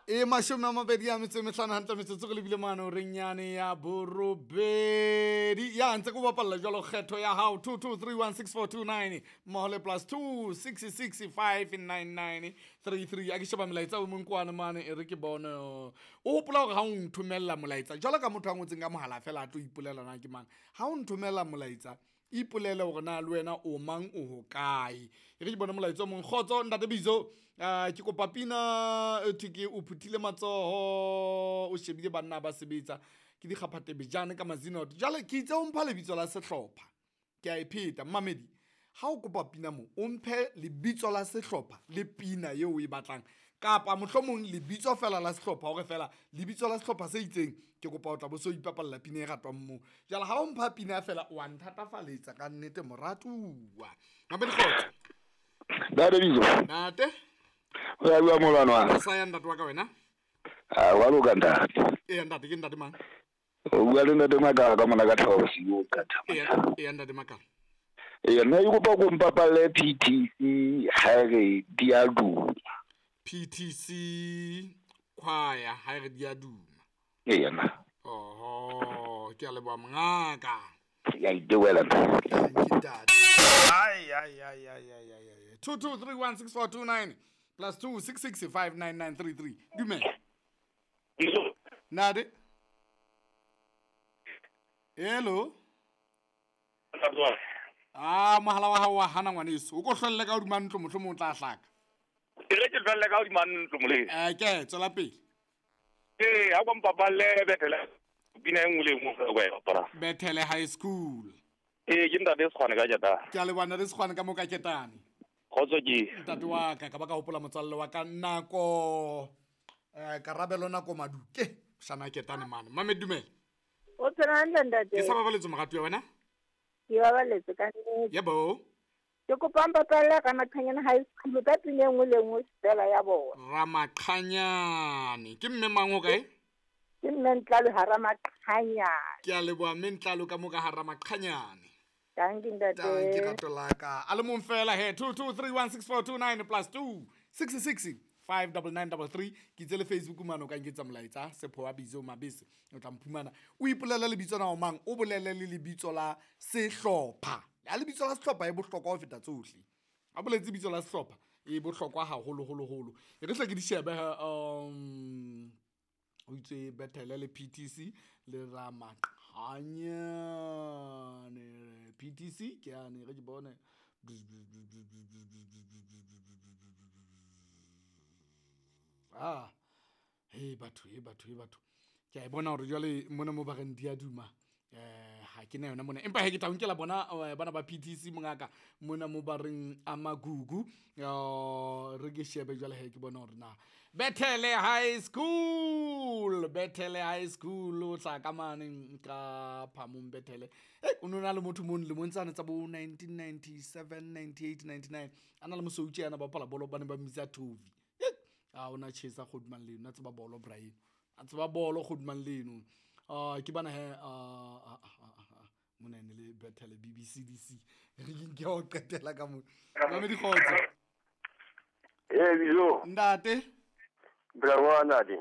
E 25 hantle metsotso re lebile mane horeng yane ya 8. Ya ntse ke o bapalla jwalo kgetho ya hao 22316429 mmoho le plus 26659933. A ke sheba molaetsa o mong kwane mane, e re ke bone. O hopola hore ha o nthomella molaetsa jwalo ka motho a ngotseng ka mohala fela a tlo ipolela na ke mang, ha o nthomella molaetsa ipolele hore na le wena o mang, o hokae. E re ke bone molaetsa o mong. Kgotso ntate Bizo, ke kopa pina e thwe ke o phuthile matsoho, o shebile banna ba sebetsa ke dikgaphatebejane ka mazinot. Jwale ke itse o mpha lebitso la sehlopha, ke a e pheta mmamedi. Ha o kopa pina mo o mphe lebitso la sehlopha le pina eo o e batlang, kapa mohlomong lebitso fela la sehlopha, hore fela lebitso la sehlopha se itseng ke kopa o tla bo so ipapalla pina e ratwang moo. Jwale ha o mpha pina fela wa nthatafaletsa ka nnete moratuwa. Mamedi kgotso. Ntate Bizo. Ntate. O ya bua molwana wa. Sa ya ntate wa ka wena? Ah, wa loka ntate. Ee ntate, ke ntate mang? O bua le ntate Makala ka mona ka Thaba Bosiu ka Thaba. Ee, ntate Makala. Ee, nna ke kopa ko mpapalle PTC ha re di a duma. PTC choir ha re di a duma. Ee nna. Oho, ke a leboha mongaka. Ke a itebohela ntate. Thank you, ntate. Ai ai ai ai ai ai ai. 22316429 plus 26659933. Dumela. Nade. Hello. Ah, mohala wa hao wa hana ngwaneso. O ko hlolle ka hodima ntlo, mohlomong o tla hlaka. Ke re ke hlolle ka hodima ntlo moleng. Ke tswela pele. Ee, ha kwa mpapalle Bethele pina e nngwe le e nngwe o e bapala. Bethele High School. Ee, ke ntate Sekgwane ka Ketane. Ke a leboha ntate Sekgwane ka mo ka Ketane. Kgotso ke. Ntate wa ka, ka ba ka hopola motswalle wa ka nako Karabelo nako Maduke. Shana Ketane mane. Mame dumela. O tsena hantle ntate. Ke sa babaletse moratuwa wena? Ke babaletse ka nnete. Yebo. Ke kopa mpapalle Ramaqhanyane High School ka pina e nngwe le nngwe fela ya bona. Ramaqhanyane. Ke mme mang o kae? Ke mme Ntlalo ha Ramaqhanyane. Ke a leboha mme Ntlalo ka mo ka ha Ramaqhanyane. Thank you ntate. Thank you rato la ka. A le mong fela he 22316429 plus 26659933. Ke itse le Facebook mane o ka nketsa molaetsa Sepho wa Bizo Mabese, o tla mphumana. O ipolele lebitso la mang, o bolele le lebitso la sehlopha. Ya lebitso la sehlopha e bohlokwa ho feta tsohle. A boletse lebitso la sehlopha e bohlokwa haholo holo holo. E re hle ke di shebe o itse Bethele le PTC le Ramaqhanyane. PTC ke ane re ke bone. Ah, hey batho, hey batho, hey batho. Ke a e bona hore jwale mona mo ba reng di a duma. Ha ke na yona mona. Empa he ke tla nkela bona bana ba PTC mongaka mona mo ba reng Amagugu. Re ke shebe jwale he ke bona hore na Bethele High School, Bethele High School o tla ka mane ka Phamong Bethele. O no na le motho mong le montsana tsa bo 1997, 98, 99. Ana le mosoutsi yana ba bapala bolo ba ne ba mmitsa Tovi. A ona chesa godimang leno, a tseba bolo Brian. A tseba bolo godimang leno. Ke bana he mona ne le Bethele BBCDC. Re ke nke ho qetela ka mo. Mamedi kgotso. Ee Bizo. Ntate. Bravo ntate.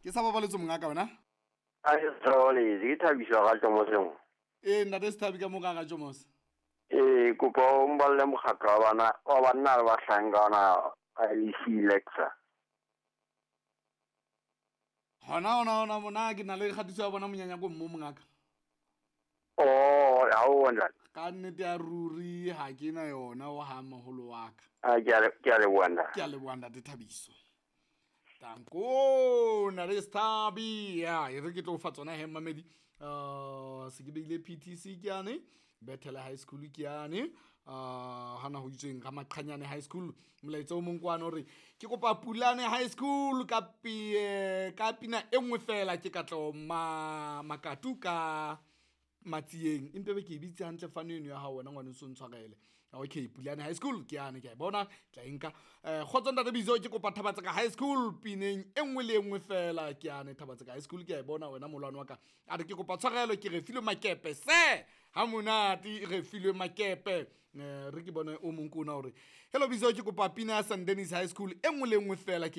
Ke sa babaletse mongaka wena? A ke tshole, ke thabiswa ga Tjomoseng. Ee ntate Sethabi ka mo ka ga Tjomose. Ee, kopa o mballe mokgatlo wa bana wa banna le bahlankana IEC Lexa. Hona hona hona mona ke na le kgatiso ya bona monyanya ko mmo mongaka. Oh, ha o ntate. Ka nnete ya ruri ha ke na yona o ha moholo wa ka. A ke a leboha ntate. Ke a leboha ntate Thabiso. Tanko na re Sethabi. Ya, e re ke tlo fa tsona he mamedi. Se ke beile PTC ke yane, Bethele High School ke yane, hana ho itsweng Ramaqhanyane High School. Molaetsa o mong kwana hore ke kopa Pulane High School ka ka pina e nngwe fela ke katlo Makatu ka Matsieng. Empe be ke e bitse hantle fano eno ya hao wena ngwane o ntshwarele. Okay, Pulane High School ke yane ke a e bona, tla e nka. Kgotso ntate Bizo ke kopa Thabatseka High School pineng e nngwe le e nngwe fela ke yane Thabatseka High School ke a e bona wena molwane wa ka. A re ke kopa tshwarelo ke re filwe makepe se ha monate re filwe makepe. Re ke bone o mong ko ona hore hello Bizo ke kopa pina ya St Denis High School e nngwe le nngwe fela ke